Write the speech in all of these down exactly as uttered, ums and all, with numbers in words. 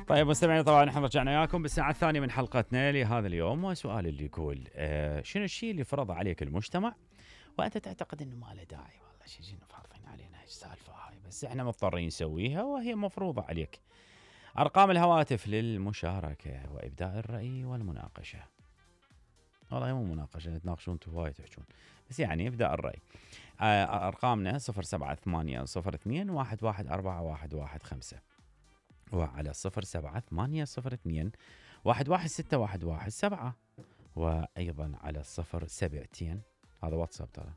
طيب مستمعين، طبعا احنا رجعنا وياكم بالساعة الثانية من حلقتنا لهذا اليوم، وسؤال اللي يقول آه شنو الشيء اللي فرض عليك المجتمع وانت تعتقد انه ما له داعي؟ والله شيء جينا فرضين علينا السالفة هاي، بس احنا مضطرين نسويها وهي مفروضة عليك. ارقام الهواتف للمشاركة وابداء الرأي والمناقشة. والله مو مناقشة، تناقشون انتم هواي تحجون، بس يعني ابداء الرأي. آه ارقامنا صفر سبعة ثمانية صفر اثنين واحد واحد أربعة واحد واحد خمسة، وعلى صفر سبعة ثمانية صفر اثنين واحد واحد ستة واحد واحد سبعة، وأيضا على صفر سبعتين، هذا واتساب ترى،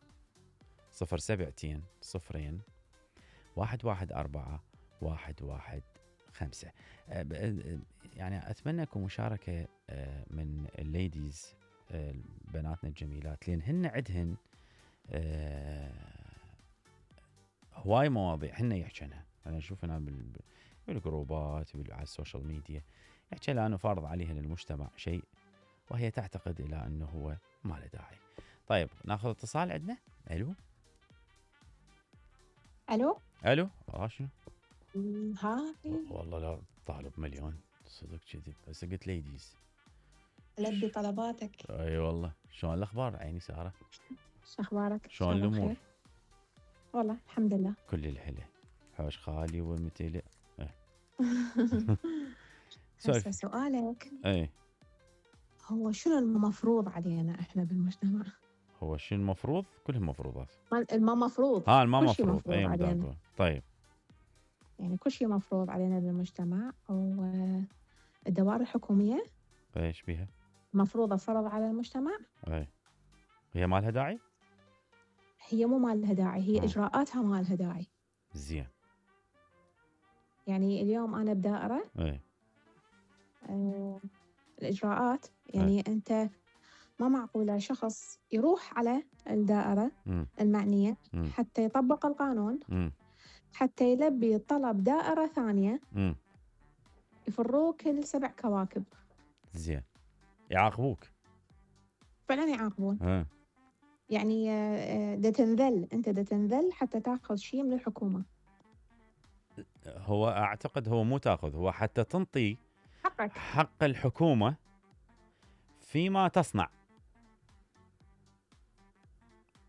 صفر سبعتين صفرين واحد واحد أربعة واحد واحد خمسة. يعني أتمنى أكون مشاركة من الليديز، بناتنا الجميلات، لأن هن عدهن هواي مواضيع هن يحكينها. أنا أشوف أنا بال بالجروبات على السوشيال ميديا يحكي لها انه فارض عليها للمجتمع شيء وهي تعتقد الى انه هو ما له داعي. طيب ناخذ اتصال عندنا. الو الو الو اه شنو؟ ها والله لا طالب مليون صدق كذب، بس قلت ليديز لبي طلباتك. اي والله. شلون الاخبار عيني ساره؟ شو اخبارك؟ شلون الامور؟ والله الحمد لله كل الحلة. حوش خالي ومتلئ. هسه سؤالك ايه هو شنو المفروض علينا احنا بالمجتمع؟ هو شنو المفروض؟ كلهم مفروضات. ما مفروض اه ما مفروض اي علينا. طيب يعني كل شيء مفروض علينا بالمجتمع، والدوائر الحكومية ايش بيها؟ مفروضة فرض على المجتمع. اي هي ما لها داعي؟ هي مو ما لها داعي، هي م. اجراءاتها ما لها داعي. زين. يعني اليوم انا بدائرة اي آه الإجراءات يعني أه. أنت ما معقولة شخص يروح على الدائرة م. المعنية م. حتى يطبق القانون م. حتى يلبي طلب دائرة ثانية م. يفروك كل سبع كواكب. زين يعاقبوك فعلا يعاقبون. أه. يعني دا تنذل، أنت دا تنذل حتى تأخذ شيء من الحكومة. هو أعتقد هو مو تأخذ، هو حتى تنطي حقك. حق الحكومة فيما تصنع.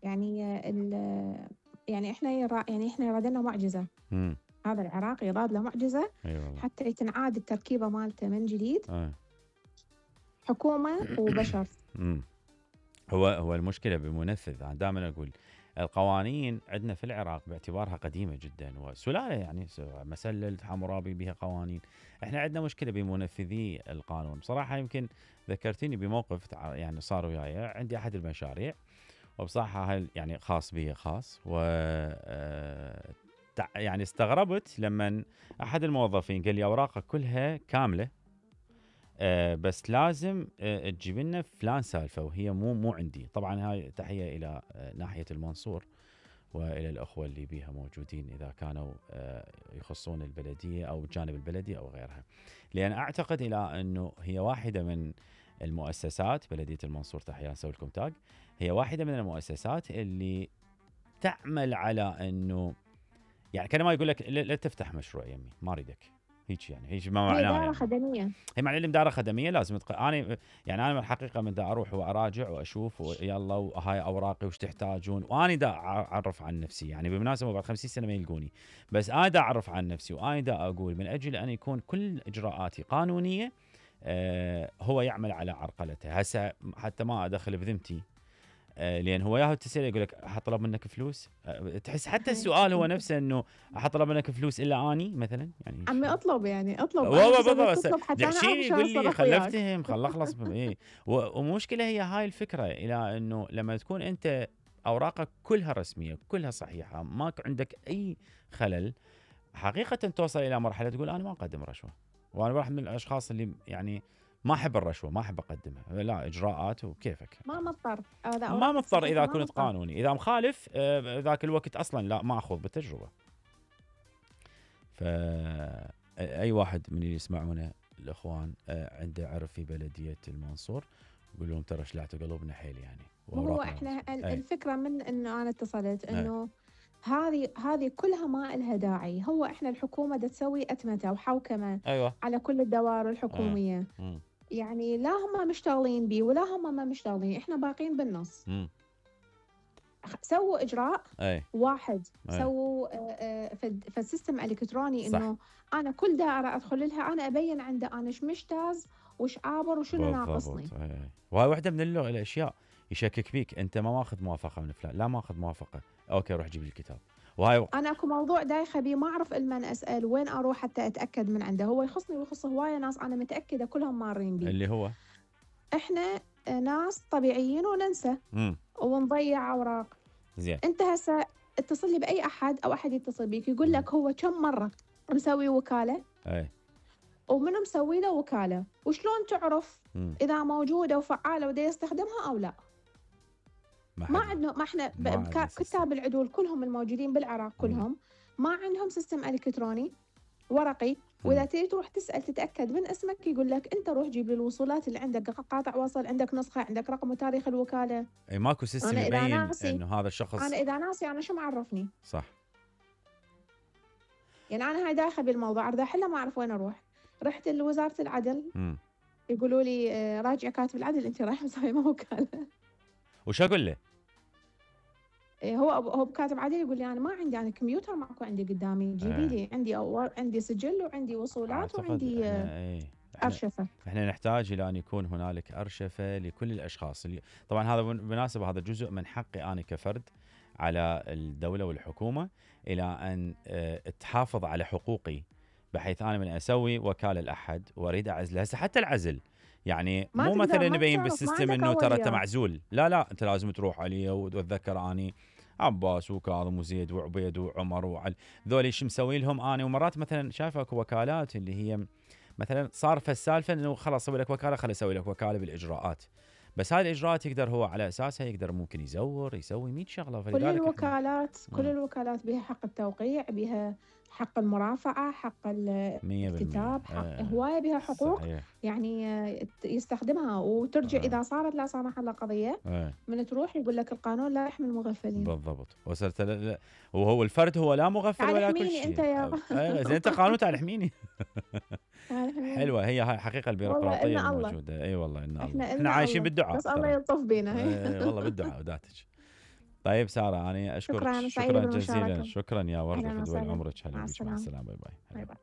يعني يعني احنا يرا يعني احنا يراد لنا معجزة. م. هذا العراق يراد له معجزة. أيوة. حتى تنعاد التركيبة مالته من جديد. أه. حكومة وبشر. م. هو هو المشكلة بمنفذ. أنا دائما أقول القوانين عندنا في العراق باعتبارها قديمة جدا وسلالة، يعني مسلل حمورابي بها قوانين. احنا عندنا مشكلة بمنفذي القانون. بصراحة يمكن ذكرتني بموقف يعني صار وياي. عندي أحد المشاريع وبصراحة هل يعني خاص بي خاص، و يعني استغربت لما أحد الموظفين قال لي أوراقك كلها كاملة، أه بس لازم أه تجيب لنا فلان سالفة وهي مو مو عندي. طبعا هاي تحية إلى أه ناحية المنصور وإلى الأخوة اللي بيها موجودين إذا كانوا أه يخصون البلدية أو الجانب البلدي أو غيرها، لأن أعتقد إلى أنه هي واحدة من المؤسسات. بلدية المنصور تحية، نسوي لكم تاج. هي واحدة من المؤسسات اللي تعمل على أنه يعني كان ما يقول لك لا تفتح مشروع يمي ما أريدك هيك، يعني هيك ما معناه. هي دائرة يعني خدمية. هي معنى لي دائرة خدمية لازم تق... أنا يعني أنا الحقيقة من دا أروح وأراجع وأشوف ويلا وهاي أوراقي وش تحتاجون، وأنا دا أعرف عن نفسي. يعني بالمناسبة بعد خمسين سنة ما يلقوني، بس أنا دا أعرف عن نفسي وأنا دا أقول من أجل أن يكون كل إجراءاتي قانونية. آه هو يعمل على عرقلته. هسه حتى ما أدخل بذمتي، آه لأن هو ياهو تسأل يقول لك أحطلب منك فلوس. آه تحس حتى السؤال هو نفسه إنه أحطلب منك فلوس إلا أني مثلا. يعني عمي أطلب يعني أطلب والله بالضبط. تطلب حتى أنا أعرف يقول لي خلفتهم خل أخلص إيه. ومشكلة هي هاي الفكرة إلى إنه لما تكون أنت أوراقك كلها رسمية كلها صحيحة ماك عندك أي خلل، حقيقة توصل إلى مرحلة تقول أنا ما أقدم رشوة. وأنا واحد من الأشخاص اللي يعني ما أحب الرشوة ما أحب أقدمها، لا إجراءات وكيفك. ما مضطر ما مضطر إذا كنت قانوني. إذا مخالف آه ذاك الوقت أصلا لا ما أخذ بالتجربة. فأي واحد من اللي يسمعونه الأخوان آه عنده عرف في بلدية المنصور يقول لهم ترى شلعتوا قلوبنا حيل يعني. هو إحنا الفكرة من إنه أنا اتصلت إنه هذه هذه كلها ما إلها داعي. هو إحنا الحكومة دا تسوي أتمتة وحوكمة ايوه على كل الدوائر آه. الحكومية. مم. يعني لا هم مشتغلين بيه ولا هم ما مشتغلين، إحنا باقين بالنص. مم. خ- سووا إجراء اي واحد، أي. سووا آه، آه، فد- فالسيستم الكتروني صح. انه انا كل دائره ادخل لها انا ابين عنده انا ايش مجتاز وش عابر وشنو ناقصني. بالضبط. اي اي. وهاي واحده من اللغة الاشياء يشكك فيك، انت ما ماخذ موافقه من فلان، لا ماخذ موافقه، اوكي روح جيب لي الكتاب. وهاي و... انا اكو موضوع دايخه بيه ما اعرف المن اسال وين اروح حتى اتاكد من عنده. هو يخصني ويخص هوايه ناس انا متاكده كلهم مارين بيه. اللي هو احنا آه، ناس طبيعيين وننسى امم ونضيع اوراق. زين. انت هسه اتصل لي باي احد او احد يتصل بيك يقول لك هو كم مره مسوي وكاله اي ومنو مسوي له وكاله، وشلون تعرف مم. اذا موجوده وفعاله ودا يستخدمها او لا؟ ما, ما حد- عندنا، ما احنا ب- ما عندنا بكا- سيستم. كتاب العدول كلهم الموجودين بالعراق كلهم ما عندهم سيستم الكتروني ورقي. واذا مم. تريد تروح تسال تتاكد من اسمك يقول لك انت روح جيب لي الوصولات اللي عندك، قاطع وصل، عندك نسخه، عندك رقم وتاريخ الوكاله. اي ماكو سيستم أنا إذا يبين ناسي- انه هذا الشخص. انا اذا ناسي انا شو معرفني؟ صح. يعني انا هاي داخله بالموضوع اريد احله ما اعرف وين اروح. رحت لوزاره العدل امم يقولوا لي آه، راجع كاتب العدل انت رايح مسوي وكاله. وش اقول له؟ إيه، هو هو كاتب عادي يقول لي انا ما عندي، انا كمبيوتر ماكو عندي قدامي، جيبي آه. لي عندي أو عندي سجل وعندي وصولات أعتقد وعندي آه، احنا اي احنا, ارشفه. احنا نحتاج الى ان يكون هنالك ارشفه لكل الاشخاص اللي طبعا هذا بالمناسبه هذا جزء من حقي انا كفرد على الدوله والحكومه الى ان آه، تحافظ على حقوقي، بحيث انا من اسوي وكاله لاحد واريد اعزله. هسه حتى العزل يعني ما مو تقدر- مثلا ما نبين تعرف، ما بالسيستم عندك انه ترى انت أولياء. معزول، لا لا انت لازم تروح عليه وتتذكر اني عباس وكاظم وزيد وعبيد وعمر وعلي ذولي شو مسوي لهم انا. ومرات مثلا شايف اكو وكالات اللي هي مثلا صار في السالفه انه خلاص اسوي لك وكاله، خلي اسوي لك وكاله بالاجراءات، بس هاي الاجراءات يقدر هو على اساسها يقدر ممكن يزور يسوي مية شغله. كل فلذلك إحنا- الوكالات كل مم. الوكالات بها حق التوقيع، بها حق المرافعه، حق ال- مية بالمية. الكتاب، حق آه، هوايه بها حقوق. صحيح. يعني آه، يستخدمها وترجع آه. اذا صارت لا سمح الله قضيه آه. من تروح يقول لك القانون لا يحمي المغفلين. بالضبط. وصلت ل- ل- وهو الفرد هو لا مغفل تعال ولا كل احميني شيء. أنت يا- أيوة، زين انت قانون تعال احميني. تعال احميني. حلوه هي هاي حقيقه البيروقراطيه والله إلنا الله. الموجوده. اي والله ان الله احنا احنا إلنا عايشين الله. بالدعاء بس الله ترى. يلطف بينا. إيه، والله بالدعاء وداتك. طيب ساره انا اشكرك شكراً، أنا سعيدة شكرا بالمشاركة. جزيلا. شكرا يا ورده أهلاً فدوى وسهلاً. عمرك. هلا مع بيك. مع السلامة. السلامه. باي باي. باي هلا.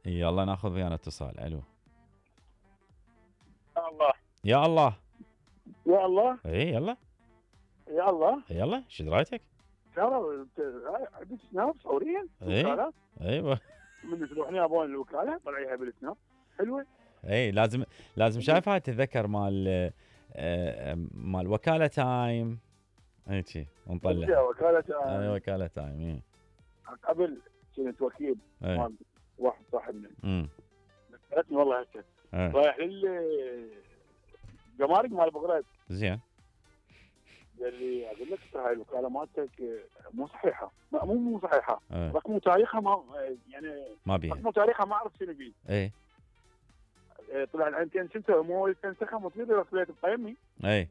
باي. يلا ناخذ ويانا اتصال. الو. يا الله يا الله. يا الله اي يلا يا الله يلا شو درايتك؟ ترى عندك سناب فوريا إيه. وكالات ايوه من تروحين يابون الوكاله طلعيها بالسناب حلوه. اي لازم لازم شايف هاي تتذكر مال آه، مال وكاله تايم هيك ونطلع. وكاله اي وكاله تايم. اي قبل كنت وكيل اي مال واحد صاحبنا امم ذكرتني والله هسه إيه. رايح لل جمارك مال بغداد زين. قال لي اقول لك ترى هاي الوكاله مالتك مو صحيحه لا مو مو صحيحه إيه. رقم وتاريخها ما يعني ما بيها. رقم وتاريخها ما اعرف شنو بيه. اي طلع الحين كان شنو مو تنسخها مصير رسلت بقيمي اي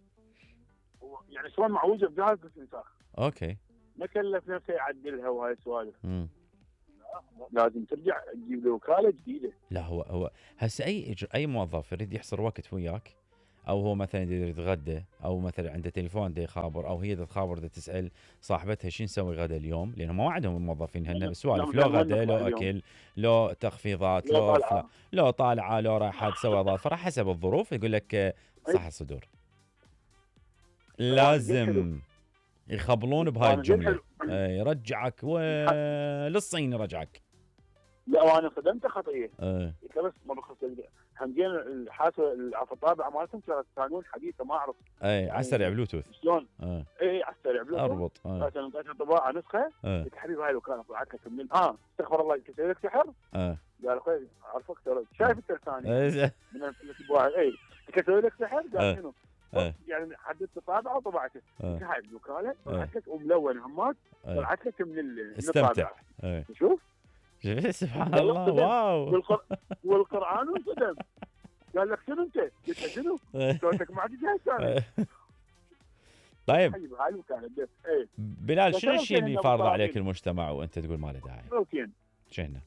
يعني شلون معوجه بجهاز الاستنساخ اوكي. ما كلف نفسه يعدلها وهاي السوالف. امم لازم ترجع تجيب له وكاله جديده. لا هو هو هسه اي إجر... اي موظف يريد يحصر وقت وياك، او هو مثلا يريد يتغدى، او مثلا عنده تليفون دا يخابر، او هي دا تخابر دا تسال صاحبتها شو نسوي غدا اليوم، لانه ما عندهم الموظفين هن سوالف لو غدا لو اكل لو تخفيضات لو لو طالعة. فلا لو طالعه لو رايحه تسوي اضافه حسب الظروف يقول لك آه، صح الصدور. لازم يخبلون بهاي أنا زين الجمله. حلو. آه، يرجعك وللصين يرجعك. لا وانا خدمته خطيه آه. قلت له بس ما بخص همجين الحاسه العفو الطابعه مالتهم كانت قانون حديثه ما اعرف اي على السريع بلوتوث. شلون. اه اي على السريع بلوتوث. اربط. اه قالت انا اعطيتها طباعه نسخه اه قلت حبيبي هاي الوكاله طلعت لك من اه استغفر الله يسوي لك سحر. اه قال اخوي اعرفك ترى شايف انت لساني إيه. من الطباعه اي اسوي لك سحر آه. قال شنو؟ آه. يعني حددت طابعه وطبعته. آه. هاي الوكاله طلعت لك وملون همات آه. طلعت لك من ال- من استمتع. الطابعه. ايه شوف شوف سبحان والله الله. صدق. واو. والقر... والقران انصدم قال لك شنو انت؟ قلت له شنو؟ إيه. صوتك ما عاد جاي ثاني. إيه. طيب حي بهاي الوكاله بس. اي بلال، شنو بس الشيء أول اللي شيء فارضه إنه عليك مطالبين. المجتمع وانت تقول ما له داعي؟ روتين. شنو؟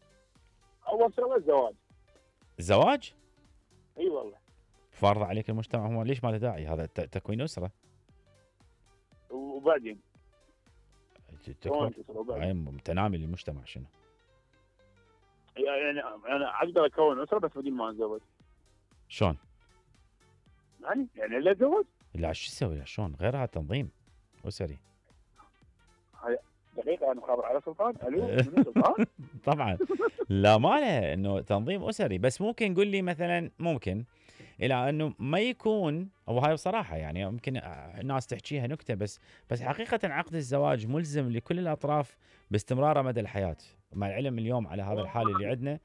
اول شغله الزواج. الزواج اي والله. فارضه عليك المجتمع، هو ليش ما له داعي؟ هذا ت- تكوين اسره. وبعدين تكوين شلون تصير وبعدين؟ أي تنامي للمجتمع شنو؟ يعني انا اقدر اكون اسره بس بدون ما اتزوج. شلون؟ يعني يعني لا اتزوج. لا شو تسوي؟ شلون؟ غيرها تنظيم اسري. دقيقه انا خابر على سلطان. الو من سلطان؟ طبعا لا ما له انه تنظيم اسري، بس ممكن قول لي مثلا ممكن الى انه ما يكون، او هاي بصراحه يعني يمكن الناس تحكيها نكته، بس بس حقيقه عقد الزواج ملزم لكل الاطراف باستمراره مدى الحياه. مع العلم اليوم على هذا الحال اللي عندنا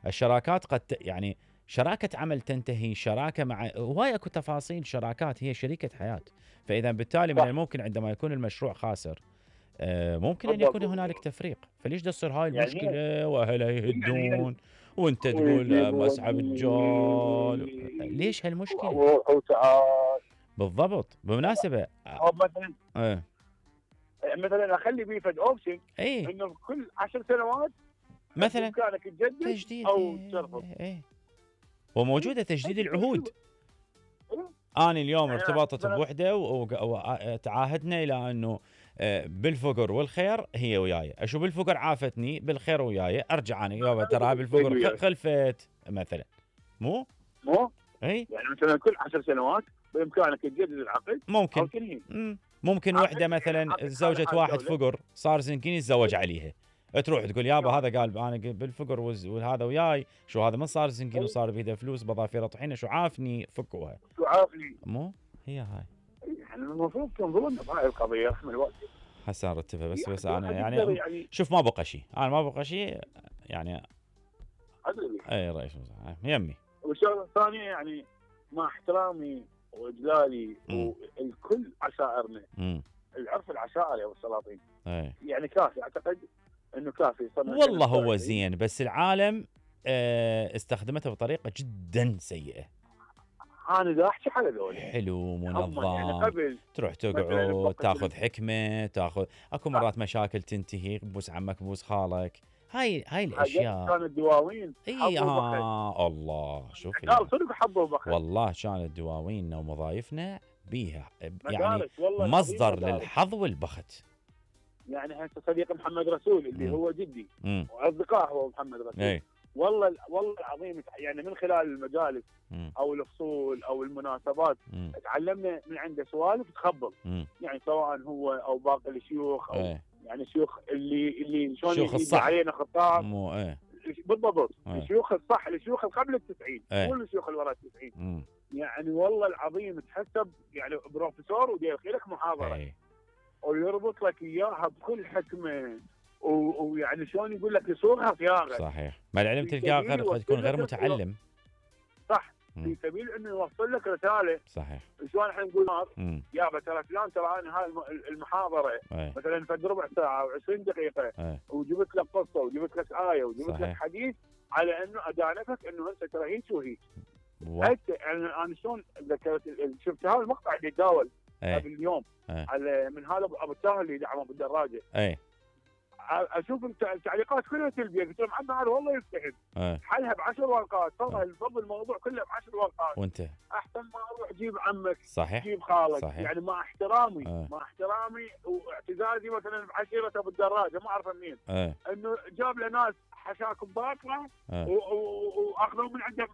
الشراكات قد ت- يعني شراكه عمل تنتهي، شراكه مع هواي اكو تفاصيل، شراكات هي شريكه حياه. فاذا بالتالي من صح. الممكن عندما يكون المشروع خاسر آه، ممكن ان بالضبط. يكون هنالك تفريق. فليش تصير هاي يعني المشكله واهلها يهدون يعني وانت تقول آه، مسحب الجال؟ ليش هالمشكله؟ وروح وتعال. بالضبط. بالمناسبه او مثلا آه. مثلا اخلي بيه فد اوبشن اي انه كل عشر سنوات مثلا بامكانك تجدد تجديد او إيه، ترفض. إيه. وموجوده تجديد العهود. إيه. انا اليوم يعني ارتبطت مثلاً- بوحده وتعاهدنا الى انه آه، بالفقر والخير هي وياي، اشوف بالفقر عافتني بالخير وياي، ارجع انا يابا ترى بالفقر خ- خلفت مثلا. مو مو اي يعني مثلا كل عشر سنوات بامكانك تجدد العقد او ممكن. تنهي. مم. ممكن عقد- وحده مثلا عقد زوجة حال واحد دولة. فقر صار زنكين يتزوج عليها، تروح تقول يابا نعم. هذا قال انا بالفقر وز- وهذا وياي، شو هذا من صار زنكين أي. وصار بيده فلوس بضافيره طحينه، شو عافني فكوها. شو عافني. مو هي هاي يعني المفروض تنظرون بهاي القضيه رحم الوالد. حسن رتبها بس بس يعني انا واحد يقدر يعني يعني شوف ما بقى شيء، انا ما بقى شيء يعني. ادري. اي رئيس وزراء يمي. والشغله الثانيه يعني مع احترامي واجلالي مم. والكل عشائرنا، امم العرف العشائري او السلاطين اي يعني كافي، اعتقد انه كافي. صرنا والله سنة هو وعشرين. زين، بس العالم آه، استخدمته بطريقه جدا سيئه. انا دا احكي على ذولي حلو هم يعني منظم، قبل تروح مثلاً تقعد بوقت تاخذ ال- حكمه، تاخذ اكو مرات مشاكل تنتهي، بوس عمك بوس خالك، هاي هاي حاجات الاشياء. كانت دواوين اي حبوا بخير. آه الله شوف لا صدق حبوا بخير. والله كانت دواويننا ومضايفنا بيها يعني مدارس والله العظيم مصدر مدارس. للحظ والبخت. يعني هسه صديق محمد رسول اللي مم. هو جدي امم واصدقاء هو محمد رسول. اي والله والله العظيم يعني من خلال المجالس مم. او الفصول او المناسبات مم. تعلمنا من عنده سوالف تخبل، مم. يعني سواء هو او باقي الشيوخ او اي يعني الشيوخ اللي اللي شلون شيوخ يجي الصح. علينا خطاب. مو ايه بالضبط. إيه. الشيوخ الصح، الشيوخ اللي قبل التسعين إيه. مو الشيوخ اللي ورا التسعين. مم. يعني والله العظيم تحسب يعني بروفيسور ودير خيرك محاضره اي ويربط لك اياها بكل حكمه و- ويعني شلون يقول لك يصورها صياغه صحيح. مع العلم في تلقاه سبيل غير قد يكون غير يوصل لك متعلم. صح مم. في سبيل انه يوصل لك رساله. صحيح. شلون احنا نقول امم يابا ترى فلان ترى انا هاي الم- المحاضره اي مثلا فد ربع ساعه او عشرين دقيقه اي وجبت لك قصه وجبت لك ايه وجبت لك صحيح. حديث على انه ادانتك انه انت ترى هيك وهيك. و... حتى يعني انا شلون ذكرت شفت هذا المقطع اللي يتداول اي قبل اليوم اي على من هذا ابو التاهر اللي دعمه بالدراجه. اي اشوف الت- التعليقات كلها سلبيه، قلت لهم عبد هذا والله يستحق اي حلها بعشر ورقات، فضل فضل الموضوع كله بعشر ورقات. وانت احسن ما اروح اجيب عمك صحيح. جيب خالك. صحيح. يعني مع احترامي آه. مع احترامي واعتزازي مثلا بعشيره ابو الدراجه ما اعرف منين اي انه جاب له ناس حشاكم باطله اي و- و- واخذوا من عنده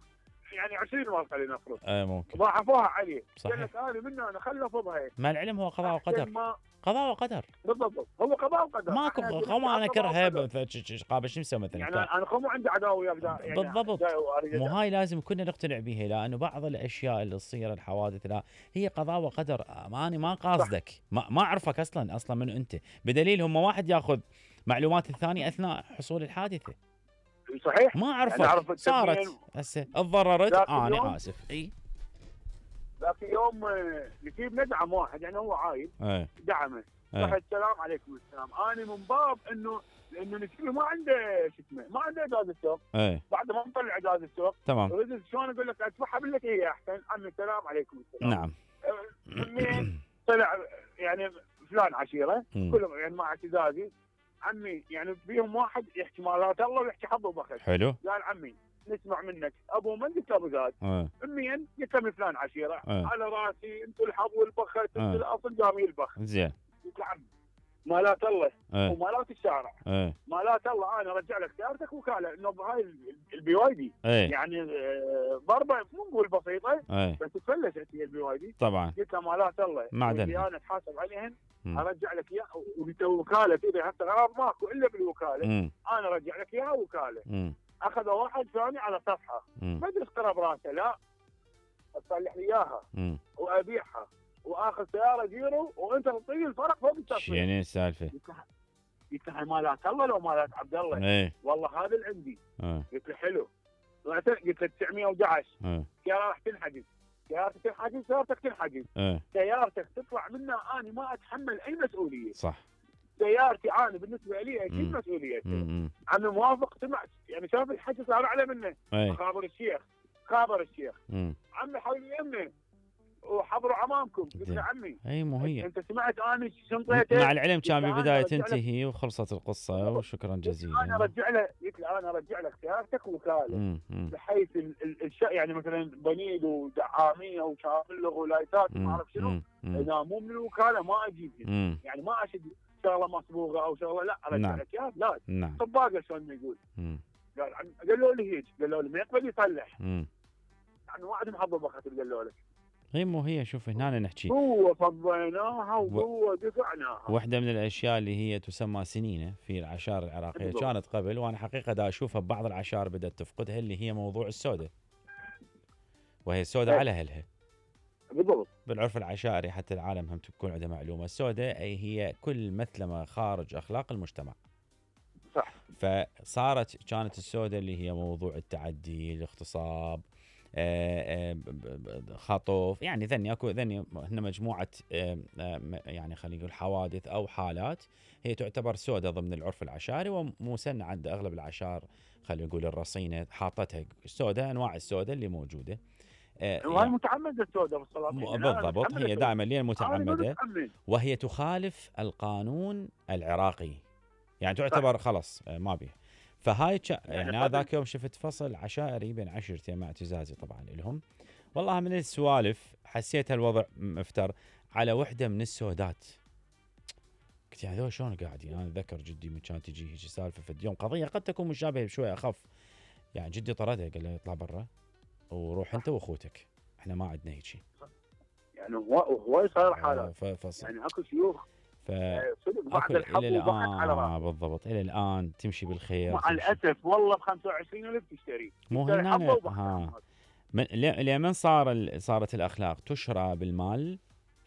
يعني عشرين ورقه لنفرض اي ممكن. ضاعفوها عليه. صحيح. قال لك انا منه انا خلى فضها. مع العلم هو قضاء وقدر. ما قضاء وقدر. بالضبط هو قضاء وقدر. ماكو إحنا قوم انا قضاء كرهه وقدر. قابل شو نسوي مثلا. يعني انا خو عندي عداوه وياك يعني بالضبط. جاي وأريد مو أدافع. هاي لازم كنا نقتنع بها، لانه بعض الاشياء اللي تصير الحوادث لا هي قضاء وقدر. ما انا ما قاصدك، ما, ما اعرفك اصلا اصلا من انت، بدليل هم واحد ياخذ معلومات الثاني اثناء حصول الحادثه. صحيح. ما اعرفك يعني أعرف صارت التبيين. هسه تضررت ذاك انا اليوم- اسف. اي ذاك يوم آه، نجيب ندعم واحد يعني هو عايد اي دعمه. اي صح السلام عليكم السلام. انا من باب انه لانه نجيبه ما عنده شو اسمه ما عنده اجازه سوق. اي بعد ما نطلع اجازه سوق تمام. ردت شلون اقول لك ادفعها بالتي هي احسن. عمي السلام عليكم السلام. نعم. آه، منين طلع يعني فلان عشيره مم. كلهم يعني مع اعتزازي عمي، يعني بيهم واحد يحكي مالات الله ويحكي حظ وبخت. حلو. قال عمي نسمع منك ابو من؟ قلت له ابو زاد. اه امين قلت له من فلان عشيره. اه على راسي انتم الحظ والبخت، انتم آه. الاصل قام يلبخ. زين. قلت له عمي مالات الله اه ومالات الشارع، اه مالات الله انا ارجع لك سيارتك وكاله، انه بهاي البي واي دي ايه يعني آه، ضربه مو نقول بسيطه ايه بس تفلست هي البي واي دي. طبعا قلت له مالات الله معدنها. واللي انا اتحاسب عليهن مم. ارجع لك اياها، وانت وكاله اذا هسه غرض ماكو الا بالوكاله، مم. انا ارجع لك اياها وكاله. مم. اخذ واحد ثاني على صفحه مم. ما ادري ايش قرا براسه، لا اصلح لي اياها مم. وابيعها واخذ سياره زيرو وانت تعطيني الفرق فوق التصفيح. شنو السالفه؟ قلت له مالات الله لو مالات عبد الله؟ ايه والله هذا اللي عندي. اه قلت له حلو. قلت له تسعمية وأحد عشر اه سياره راح تنحجز، سيارتك تنحجز، سيارتك تنحجز، اه سيارتك تطلع منها انا ما اتحمل اي مسؤوليه. صح. سيارتي انا بالنسبه لي اكيد مم. مسؤوليتي. مم. عمي موافق سمعت يعني شاف الحكي صار اعلى منه. ايه خابر الشيخ خابر الشيخ مم. عمي حولي يمه وحضروا امامكم. قلت له زين. عمي اي مو هي. انت سمعت انا شنطيته؟ مع العلم كان أنا بالبدايه أرجع لك. تنتهي وخلصت القصه وشكرا انا جزيلا. ارجع له، قلت له انا ارجع لك سيارتك وكاله مم. مم. بحيث ال- ال- الشيء يعني مثلا بنيد ودعاميه وشامله ولايتات وما مم. اعرف شنو، مم. مم. اذا مو من الوكاله ما اجيبها. مم. يعني ما اشد شغله مصبوغه او شغله، لا ارجع نعم. لك اياها لا نعم. طباقه شلون ما يقول. مم. قال عم- قالوا لي هيك، قالوا لي ما يقبل يصلح، مم. يعني واحد محضر بخت قالوا لك. هي مو هي. شوف هنا نحكي قوه فضيناها وقوه دفعناها. واحدة من الأشياء اللي هي تسمى سنينة في العشائر العراقية بالضبط. كانت قبل، وأنا حقيقة دا أشوفها ببعض العشائر بدأت تفقدها، اللي هي موضوع السودة، وهي السودة إيه. على أهلها. بالضبط. بالعرف العشائري حتى العالم هم تكون عنده معلومة، السودة أي هي كل مثلما خارج أخلاق المجتمع. صح. فصارت كانت السودة اللي هي موضوع التعدي، الاغتصاب، آه، آه، ب- ب- خطف، يعني ذني اكو ذني هن مجموعه آه، آه، م- يعني خلينا نقول حوادث او حالات هي تعتبر سودة ضمن العرف العشائري، ومسنة عند اغلب العشائر خلينا نقول الرصينه حاطتها سودة، انواع السودة اللي موجوده. آه، وهي يعني متعمده السوداء م- بالسلاطين. بالضبط هي دائما لين متعمده، متعمد. وهي تخالف القانون العراقي، يعني تعتبر خلص آه، ما بيه. فهاي تش... يعني, يعني هذاك يوم شفت فصل عشائري بين عشيرتين مع اعتزازي طبعا لهم، والله من السوالف حسيت الوضع مفتر على وحده من السودات. قلت يا هذول شلون قاعدين؟ انا اتذكر جدي من كان تجي هيك سالفه في اليوم قضيه قد تكون مشابهه شوي اخف، يعني جدي طردها قال له اطلع برا وروح انت واخوتك، احنا ما عندنا هيك شيء. يعني هو هو صار آه، حالات. ف... فص... يعني اكو شيوخ ف... آه، صدق بعد أكل الحظ الى وبحث على الان راسه. بالضبط الى الان تمشي بالخير. مع تمشي. الاسف والله ب خمسة وعشرين ألف تشتري. مو تشتري هنا حظه وبحث ها. على راسه. من لمن صار ال... صارت الاخلاق تشرى بالمال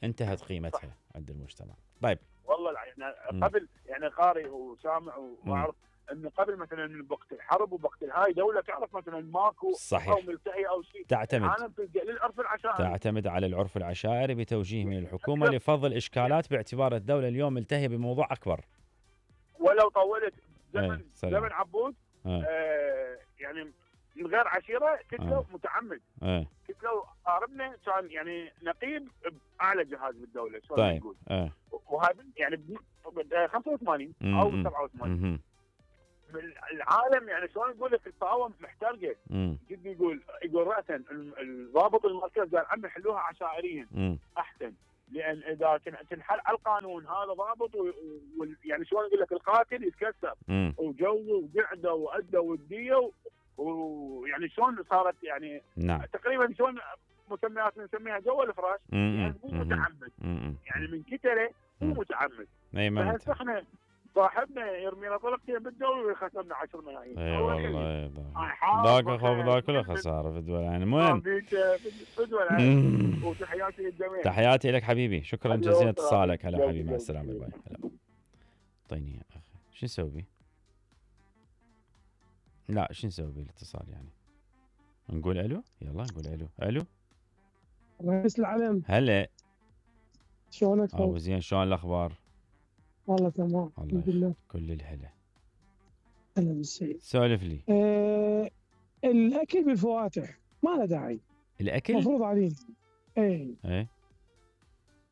انتهت قيمتها عند المجتمع. طيب والله الع- يعني مم. قبل يعني قارئ وسامع واعرف انه قبل مثلا وقت الحرب ووقت الهاي دوله تعرف مثلا ماكو صحيح. او ملتهي او شيء. تعتمد العالم تلجا للعرف العشائري. تعتمد على العرف العشائري بتوجيه من الحكومه لفض اشكالات باعتبار الدوله اليوم ملتهيه بموضوع اكبر. ولو طولت زمن ايه سلام. زمن عبود ايه آه يعني من غير عشيره قتلوا آه. متعمد. ايه قتلوا قاربنا كان يعني نقيب باعلى جهاز بالدوله شلون طيب نقول. ايه وهذا يعني ب خمسة وثمانين مم. او سبعة وثمانين مهم. من العالم يعني شلون نقول لك القهوه محترقه. مم. جدي يقول يقول راسا ال- الضابط المركز قال عمي حلوها عشائريا مم. احسن، لان اذا تن- تنحل على القانون هذا ضابط و- و- يعني شلون اقول لك القاتل يتكسر مم. وجو وقعده وأده وديه و- ويعني شلون صارت يعني نعم. تقريبا شلون مسميات نسميها جو الفراش، مم. يعني مو مم. متعمد، مم. يعني من كتله مو مم. متعمد. اي ما فهسه احنا صاحبنا يرمي له طلقتين بالدول ويخسرنا عشرة ملايين. اي هو الحين. والله هاي حاط ذاك بخير. خوف ذاك كله خساره في الدول يعني. ما المهم فيك في الدول هاي. مم. وتحياتي للجميع. تحياتي لك حبيبي، شكرا حبيبي جزيلا والسلام. اتصالك. هلا يلا، حبيبي مع يلا. السلامه. باي باي. هلا اعطيني يا اخي شو نسوي بيه؟ لا شو نسوي بيه الاتصال يعني؟ نقول الو؟ يلا نقول الو. الو رئيس العلم هلا شلونك؟ ابو زين شلون الاخبار؟ والله تمام الله الحمد لله. كل الهلا. اهلا بالسيد. سولف لي. آه الاكل بالفواتح ما له داعي، الاكل؟ مفروض علينا. ايه ايه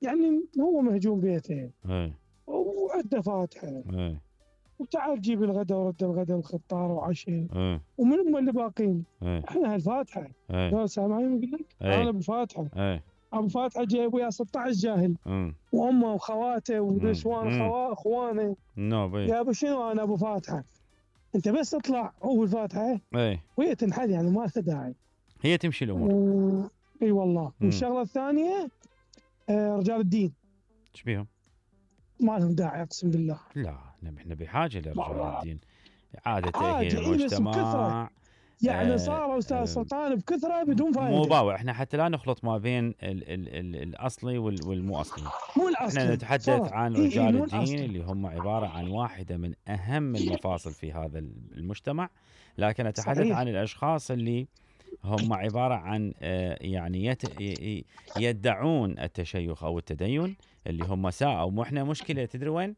يعني هو مهجوم بيته اي وعنده فاتحه، اي وتعال جيب الغداء ورد الغداء وخطار وعشاء، اي ومن هم اللي باقين؟ اي احنا هالفاتحه. اي لو سامعين يقول لك إيه. انا ابو فاتحه، اي ابو فاتحه جايب وياه ستة عشر جاهل امم وامه وخواته مم. ونسوان مم. خوا اخوانه. نو بي يا ابو شنو انا ابو فاتحه؟ انت بس اطلع هو الفاتحه اي وهي تنحل، يعني ما لها داعي. هي تمشي الامور. و... اي والله. مم. والشغله الثانيه آه رجال الدين ايش بيهم؟ ما لهم داعي اقسم بالله. لا احنا بحاجه لرجال والله. الدين، اعاده حاجة، تاهيل إيه بس بكثرة. المجتمع. يعني آه، صار استاذ آه، سلطان بكثره بدون مو فائده. باوع، احنا حتى لا نخلط ما بين ال ال ال الاصلي وال- والمو اصلي. مو الاصل احنا نتحدث عن إيه إيه رجال مو الدين الأصل. اللي هم عباره عن واحده من اهم المفاصل في هذا المجتمع، لكن اتحدث صحيح. عن الاشخاص اللي هم عباره عن آه، يعني يت ي- يدعون التشيخ او التدين، اللي هم ساءوا. واحنا مشكله تدري وين؟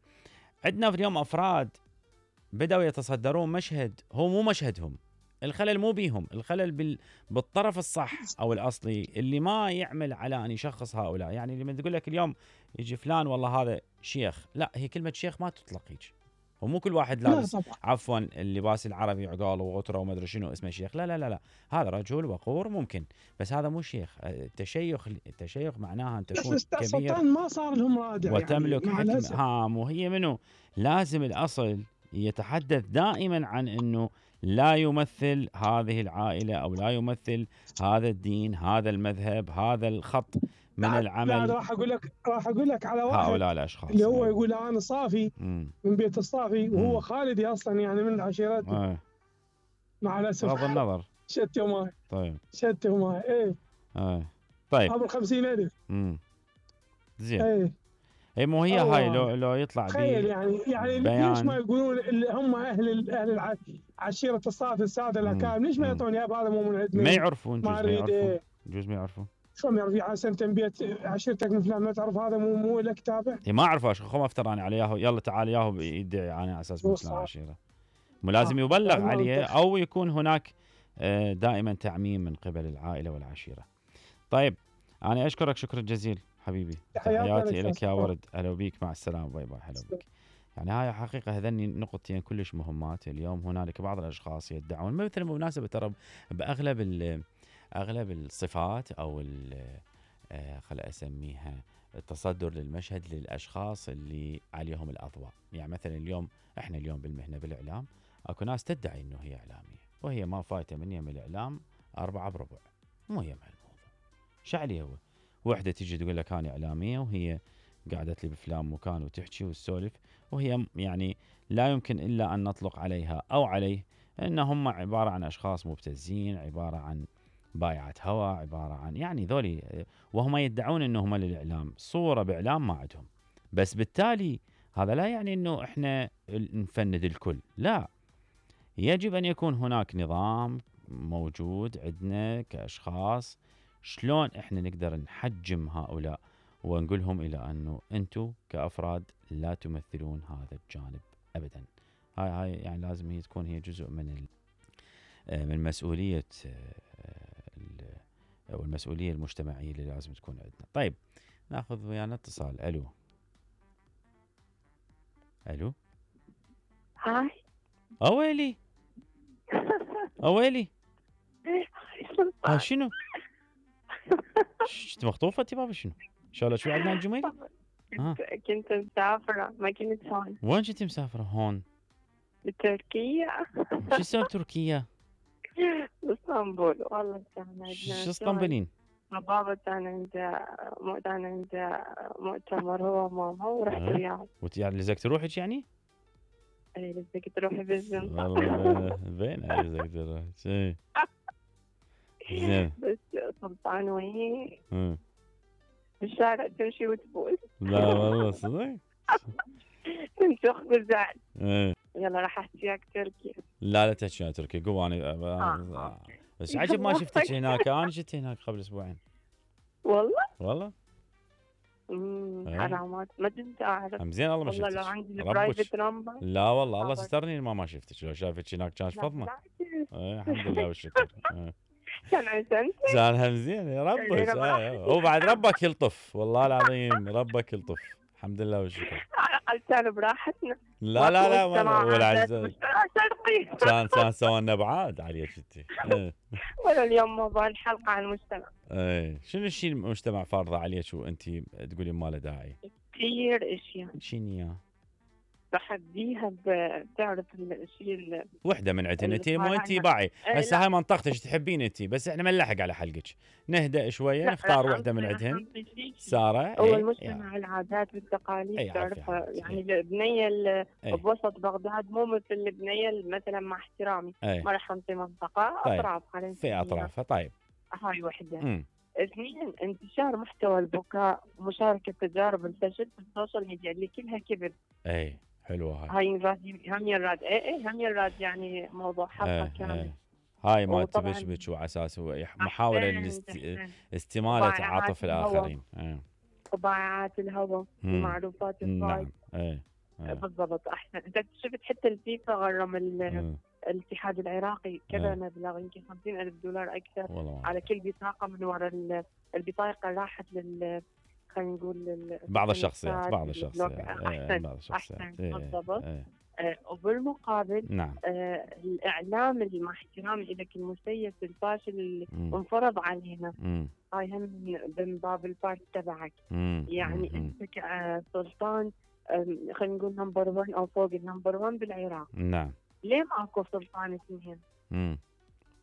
عندنا في اليوم افراد بدأوا يتصدرون مشهد هو مو مشهدهم. الخلل مو بيهم، الخلل بال... بالطرف الصح او الاصلي اللي ما يعمل على ان يشخص هؤلاء. يعني لما تقول لك اليوم يجي فلان والله هذا شيخ، لا، هي كلمه شيخ ما تطلق هيك. هو مو كل واحد لا لابس طبعا. عفوا اللباس العربي عقال وغتره وما ادري شنو اسمه شيخ، لا لا لا لا، هذا رجل وقور ممكن، بس هذا مو شيخ. التشيخ التشيخ معناها ان بس تكون استاذ كبير سلطان ما صار لهم رادع وتملك يعني مع حكمة. الاسف. هام وهي منه لازم الأصل يتحدث دائما عن أنه لا يمثل هذه العائلة أو لا يمثل هذا الدين، هذا المذهب، هذا الخط من لا لا العمل راح اقول لك راح اقول لك على واحد هؤلاء الأشخاص. اللي هو أيوة. يقول انا صافي مم. من بيت الصافي، وهو مم. خالدي اصلا يعني من عشيرتي. آه. مع الاسف بغض النظر. شتوا معي طيب شتوا معي ايه آه. طيب ابو الخمسين الف. مم. زين. ايه اي مو هي أوه. هاي لو لو يطلع تخيل بي يعني يعني بيان. ليش ما يقولون اللي هم اهل ال- اهل الع- عشيره الصافي الساده مم. الاكارم، ليش ما مم. يعطون يا هذا مو من عندنا؟ ما يعرفون، ما جوز ما اريد يعرفون، إيه. جوز ما يعرفون. شلون يعرف يعني سنه بيت عشيرتك من فلان ما تعرف هذا مو مو لك تابع؟ هي ما اعرفه، خو ما افتر انا عليه، يلا تعال ياهو يدعي انا على اساس من فلان صح. عشيره. مو لازم آه، يبلغ يعني ما عليه أنت- او يكون هناك آه، دائما تعميم من قبل العائله والعشيره. طيب انا اشكرك شكرا جزيلا حبيبي، تحياتي تحياتي لك لك يا أستاذ. ورد، هلا بيك، مع السلامه، باي باي، هلا بيك. يعني هاي حقيقه هذني نقطتين كلش مهمات. اليوم هنالك بعض الاشخاص يدعون مثل بالمناسبه ترى باغلب ال- اغلب الصفات او ال- آه، خل اسميها التصدر للمشهد للاشخاص اللي عليهم الاضواء. يعني مثلا اليوم احنا اليوم بالمهنه بالاعلام اكو ناس تدعي انه هي اعلاميه وهي ما فايته من يم الاعلام أربعة بربع، مو يم هالموضوع. شو عليه هو؟ وحده تيجي تقول لك انا اعلاميه وهي قعدت لي بفلان مكان وتحكي وتسولف، وهي يعني لا يمكن الا ان نطلق عليها او عليه ان هم عباره عن اشخاص مبتزين، عباره عن بايعة هوا، عباره عن يعني ذولي، وهم يدعون انهم للاعلام، صوره باعلام ما عندهم. بس بالتالي هذا لا يعني انه احنا نفند الكل، لا، يجب ان يكون هناك نظام موجود عندنا كاشخاص. شلون احنا نقدر نحجم هؤلاء ونقولهم الى انه انتم كافراد لا تمثلون هذا الجانب ابدا. هاي هاي يعني لازم هي تكون هي جزء من ال من مسؤوليه او المسؤوليه المجتمعيه اللي لازم تكون عندنا. طيب ناخذ ويانا اتصال. الو الو هاي اويلي اويلي ها شنو؟ شت مخطوفه انت بابا؟ شنو؟ شالله شو عندنا الجميل؟ ها. كنت مسافرة ما كنت هون وين كنتي مسافره؟ هون بتركيا. شو اسمه بتركيا؟ باسطنبول. والله كان عندنا شو اسطنبولين؟ بابا كان عنده كان عنده مؤتمر هو وماما ورحت أه. وياهم. وانت يعني لزقت روحك يعني؟ اي لزقت تروحي بالزنقة. والله باين لزقت روحك. اي زين. بس سلطان وين أه. بالشارع تمشي وتبول. لا والله صدق؟ تنشخ بالزعل. ايه يلا راح احكيك تركي. لا لا تحكي عن تركيا، قوم انا آه. بس عجب ما شفتك هناك. انا جيت هناك قبل اسبوعين والله والله. امم إيه. حرامات ما كنت اعرف. هم زين الله ما والله لو شفتك. عندي ربك. البرايفت نمبر. لا والله الله خبر. سترني ما ما شفتك. لو شافتك هناك كان لا، فضمه. بالعكس. ايه الحمد لله والشكر. ايه كان عشان زانها زين ربك. هو بعد ربك يلطف والله العظيم، ربك يلطف. الحمد لله والشكر. كان براحتنا. لا لا لا ولا عزيز. شرقي. كان كان سوينا بعاد عليك انت. ولا اليوم موضوع الحلقه عن المجتمع. ايه شنو الشيء المجتمع فارضه عليك وانت تقولي ما له داعي؟ كثير اشياء. شنو يا؟ بحديها بتعرف الشيء وحده من عندنا انت مو انت باعي هسه هاي منطقتك تحبين انت، بس احنا ما نلحق على حلقك، نهدأ شويه نختار وحده من عندهن. ساره هو ايه المجتمع العادات والتقاليد ايه تعرفها يعني ايه البنيه اللي ايه بوسط بغداد مو مثل البنيه مثلا مع احترامي ايه ما راح انطي منطقه طيب. اطراف خلينا في اطرافها. طيب هاي وحده. اثنين انتشار محتوى البكاء ومشاركه تجارب الفشل في السوشيال ميديا اللي كلها كذب. اي حلوه هاي. هاي يراد هم يراد اي اي هم يراد يعني موضوع حلقه ايه كامل. ايه. هاي ما تبشبش وعلى اساس محاوله لاستماله عاطف الاخرين. ايه. قبعات الهواء المعروفات نعم ايه. ايه. بالضبط احسن. انت شفت حتى الفيفا غرم الاتحاد العراقي كذا مبلغ يمكن خمسين ألف دولار اكثر والله. على كل بطاقه من وراء البطاقه راحت لل خلينا نقول بعض الشخصيات بعض الشخصيات احسن بعض الشخصيات احسن بالضبط. ايه. آه وبالمقابل نعم. آه الاعلام اللي مع احترامي لك المسيس الفاشل اللي مم. انفرض علينا مم. هاي هم من باب البارت تبعك. مم. يعني مم. انت كسلطان خلينا نقول نمبر واحد او فوق النمبر واحد بالعراق. نعم. ليه ماكو سلطان اثنين؟ امم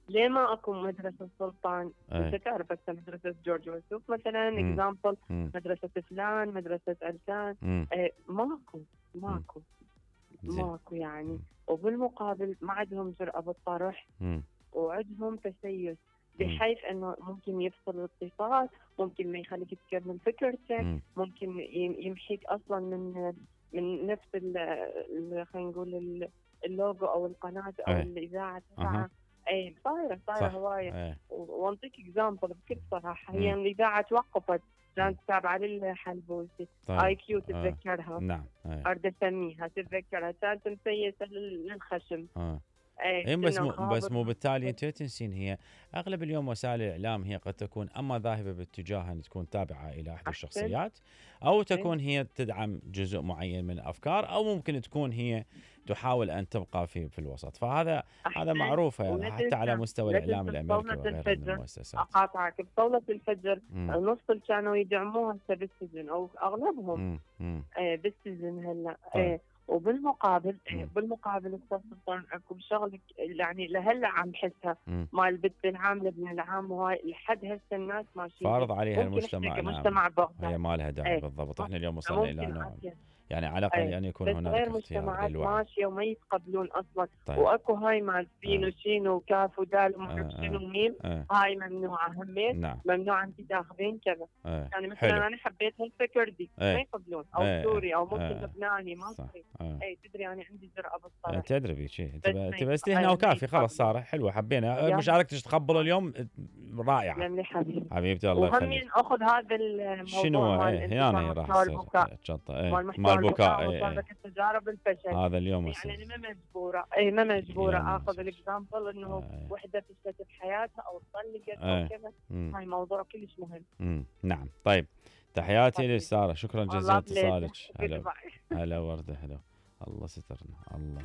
ليه ما اكو مدرسه سلطان؟ أي. انت تعرف هسه مدرسه جورج وسوف مثلا اكزامبل، مدرسه فلان، مدرسه علان، آه ماكو ماكو مم. ماكو يعني. مم. وبالمقابل ما عندهم جرأة بالطرح وعندهم تسيس بحيث انه ممكن يفصل الاتصال، ممكن ما يخليك تكمل فكرتك، ممكن يمحيك اصلا من من نفس ال خلينا نقول اللوجو او القناه او أي. الاذاعه تبعها. اي صايره صايره هوايه. وانطيك اكزامبل بكل صراحه، هي الاذاعه توقفت كانت تابعه للحلبوسي. طيب. اي كيو تتذكرها. آه. نعم. اريد اسميها تتذكرها، كانت مسيسه للخشم. آه. اي بس مو بس مو بالتالي انت تنسين هي اغلب اليوم وسائل الاعلام هي قد تكون اما ذاهبه باتجاه ان تكون تابعه الى احد الشخصيات، او تكون هي تدعم جزء معين من الافكار، او ممكن تكون هي تحاول ان تبقى في في الوسط. فهذا هذا معروف يعني حتى على مستوى الاعلام الامريكي وغيره من المؤسسات. اقاطعك بطاوله الفجر النص اللي كانوا يدعموها هسه بالسجن او اغلبهم آه بالسجن هلا. طيب. آه وبالمقابل مم. بالمقابل السلطان اكو شغله يعني لهلا عم بحسها مال البت العامله ابن العام، وهاي لحد هسه الناس ماشيين فارض عليها المجتمع. نعم. مجتمع بغداد هي ما لها داعي. ايه. بالضبط. احنا اليوم وصلنا الى نوع يعني على الاقل ايه. ان يكون هناك غير مجتمعات ماشيه وما يتقبلون اصلا. طيب. واكو هاي مال سين اه. وشين وكاف ودال وما اعرف اه. شنو ميم اه. هاي ممنوعه همين. نعم. ممنوع انت تاخذين كذا. اه. يعني مثلا حلو. انا حبيت هالفكر دي اه. ما يقبلون او اه. سوري او ممكن اه. لبناني مصري. اه. اي تدري انا عندي جرأة بالطرح. اه. تدري بشيء انت بس هنا وكافي خلاص صار حلوه. حبينا مشاركتك تقبلوا اليوم رائعه. لملي حبيبي حبيبتي الله يخليك. وهم اخذ هذا الموضوع شنو هنا راح يصير الشنطه مال البكاء تجارب الفشل. هذا اليوم يعني انا ما مجبوره اي ما مجبوره اخذ الاكزامبل انه آه. وحده فشلت بحياتها او طلقت آه. او كذا. هاي موضوع كلش مهم. مم. نعم. طيب تحياتي لساره، شكرا جزيلا اتصالك. هلا هلا ورده. هلا الله سترنا الله.